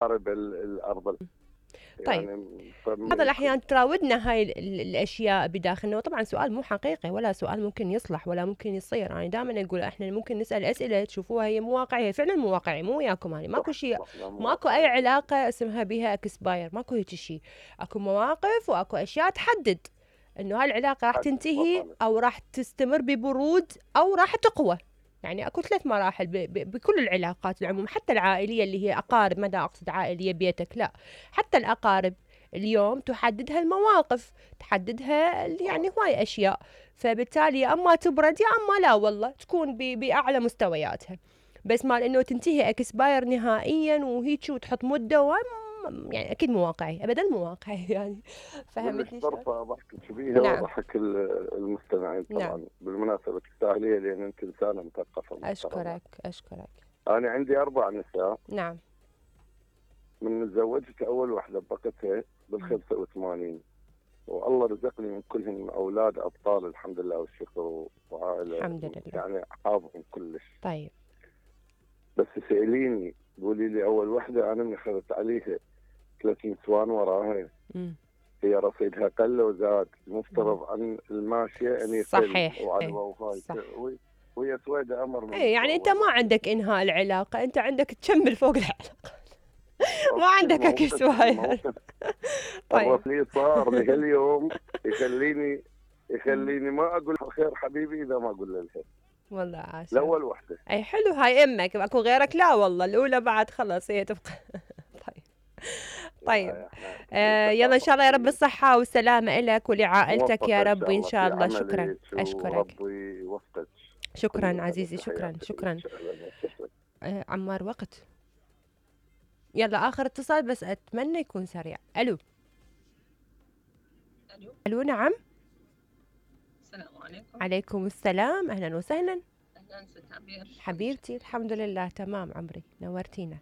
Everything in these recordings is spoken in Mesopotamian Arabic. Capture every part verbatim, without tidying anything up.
قارب ال- الأرض. طيب يعني بعض الأحيان تراودنا هاي ال- الأشياء بداخلنا، وطبعا سؤال مو حقيقي ولا سؤال ممكن يصلح ولا ممكن يصير. أنا يعني دائما أقول إحنا ممكن نسأل أسئلة تشوفوها هي مو واقعية، فعلا مو واقعي، مو وياكم يعني ماكو شيء، ماكو أي علاقة اسمها بها اكسباير، ماكو هيك شيء. أكو مواقف وأكو أشياء تحدد إنه هالعلاقة راح تنتهي أو راح تستمر ببرود أو راح تقوى. يعني اكو ثلاث مراحل ب ب بكل العلاقات العموم، حتى العائليه اللي هي اقارب، ماذا اقصد عائليه بيتك، لا حتى الاقارب اليوم تحددها المواقف، تحددها يعني هواي اشياء. فبالتالي يا اما تبرد يا اما لا والله تكون باعلى مستوياتها. بس مال انه تنتهي اكسباير نهائيا وهيك وتحط مده، يعني اكيد مو واقعي، ابدا مو واقعي يعني. فهمتني شلون؟ طرفه ضحكك بيها نعم. وضحك المستمعين طبعا. نعم. بالمناسبه تستاهليها لان انت انسانه مثقفه. اشكرك اشكرك. انا عندي اربع نساء. نعم. من تزوجت اول واحده بقتها بالخمسة وثمانين، والله رزقني من كلهم اولاد ابطال الحمد لله والشكر، وعائله الحمد لله يعني حافظهم كلش. طيب بس سأليني قولي لي اول وحده انا من اخذت عليها ثلاث نسوان وراها. مم. هي رصيدها قل وزاد، المفترض عن الماشيه ان يقل. صحيح. وعلى ايه. وفاي صح. وهي سويده امر من ايه يعني انت ما عندك انهاء العلاقه، انت عندك تكمل فوق العلاقه. ما عندك اكسباير. طيب الرصيد صار لهاليوم يخليني يخليني ما اقول خير حبيبي اذا ما اقول له الخير. والله عاشر. الاول وحده. اي حلو، هاي امك، اكو غيرك؟ لا والله الاولى بعد خلص هي تبقى. طيب طيب آه يلا ان شاء الله يا رب الصحه والسلامه لك ولعائلتك يا رب ان شاء الله. شكرا اشكرك. ربي يوفقك. شكرا عزيزي، شكرا شكرا. آه عمار وقت. يلا اخر اتصال بس اتمنى يكون سريع. الو الو الو نعم. السلام عليكم. عليكم السلام، اهلا وسهلا. اهلا ست عبير. حبيبتي الحمد لله تمام عمري، نورتينا.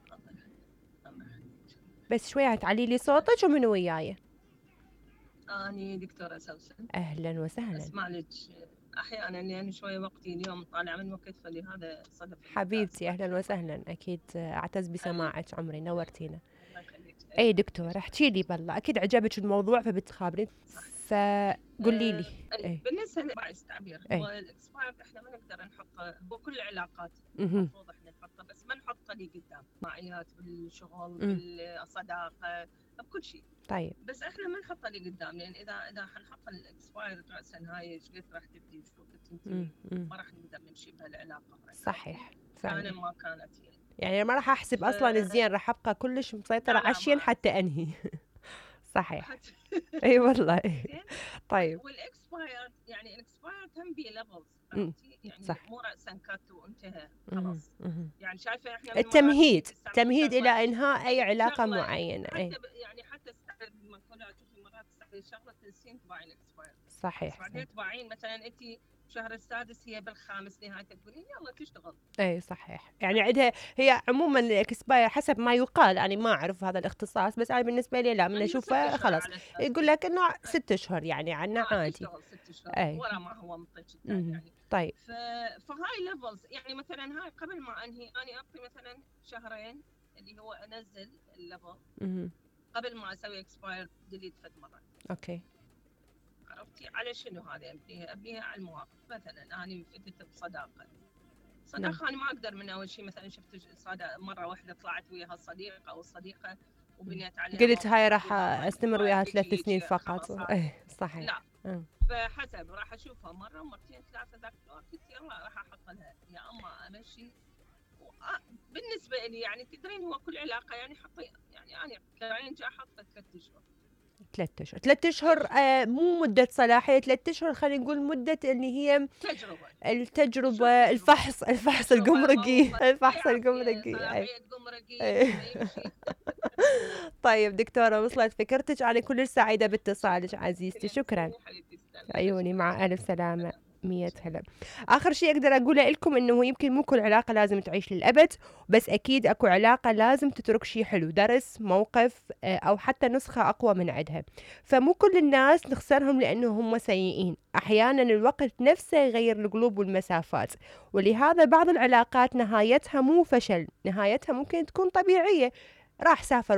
بس شوية تعلي لي صوتك ومن وياي. اني دكتورة سوسن. اهلا وسهلا. اسمع لك احيانا يعني شوية وقتي اليوم طالع من وقت، فلهذا صدف. حبيبتي اهلا وسهلا، اكيد اعتز بسماعك عمري، نورتينا. اي دكتور احكي لي بالله، اكيد عجبك الموضوع فبتخابرين، فقولي لي. أه بالنسبه للتعبير هو الاكسباير احنا ما نقدر نحطه، هو كل العلاقات المفروض احنا نحطه، بس ما نحطه لي قدام معيات بالشغل بالصداقه بكل شيء. طيب بس احنا ما نحطه لي قدام، لان اذا اذا حنحط الاكسباير راسا هاي ايش قد راح تبدي شو تنتهي، ما راح نقدر نمشي بهالعلاقه. صحيح فعلا. كان ما كانت يعني يعني ما راح احسب ف... اصلا الزين، راح ابقى كلش مسيطره على الشين حتى انهي. صحيح. اي والله. طيب والاكسبايرد يعني الاكسبايرد هم بي ليفلز، يعني صح. مو راسا كات وانتهى خلاص. يعني شايفه احنا التمهيد تمهيد الى انهاء اي علاقه معينه. اي يعني حتى استعرض مقوله تشوفي مرات تستعرض شغله تنسين تباعين الاكسبايرد. صحيح. بعدين تباعين مثلا انت شهر السادس هي بالخامس نهاية تقولين يلا تشتغل. اي صحيح. يعني عندها هي عموما الاكسباير حسب ما يقال، يعني ما اعرف هذا الاختصاص، بس انا بالنسبه لي لا، من اشوفه خلاص يقول لك انه ست اشهر يعني عنا عادي. ست اشهر ورا ما هو مطلق يعني. طيب ف... فهاي ليفلز يعني مثلا هاي قبل ما انهي انا اعطي مثلا شهرين اللي هو انزل الليفل قبل ما اسوي اكسباير ديليت فد مره. اوكي عرفتي على شنو هذا؟ ابنيها ابنيها على المواقف. مثلا انا فتت بصداقه صداقه نعم. انا ما اقدر من اول شيء مثلا شفت صداقه مره واحده طلعت وياها الصديق او الصديقه وبنيت عليها، قلت هاي راح استمر وياها ثلاث سنين فقط. ايه صحيح. لا م. فحسب راح اشوفها مره مرتين ثلاثه ذاك الوقت يلا راح احط لها يا اما امشي. بالنسبه لي يعني تدرين هو كل علاقه يعني حطي يعني انا كرين جا احط ثلاث اشهر. ثلاث اشهر ثلاث اشهر آه مو مده صلاحيه، ثلاث اشهر خلينا نقول مده اللي هي تجربه التجربه الفحص الفحص الجمركي الفحص الجمركي. صلاحيه جمركي. طيب دكتوره وصلت فكرتك، انا كل سعيده باتصالك عزيزتي. شكرا. عيوني مع الف سلامه. مية هلا. آخر شيء أقدر أقوله لكم إنه يمكن مو كل علاقة لازم تعيش للأبد، بس أكيد أكو علاقة لازم تترك شيء حلو، درس، موقف أو حتى نسخة أقوى من عدها. فمو كل الناس نخسرهم لأنه هم سيئين، أحيانا الوقت نفسه يغير القلوب والمسافات، ولهذا بعض العلاقات نهايتها مو فشل، نهايتها ممكن تكون طبيعية. راح سافر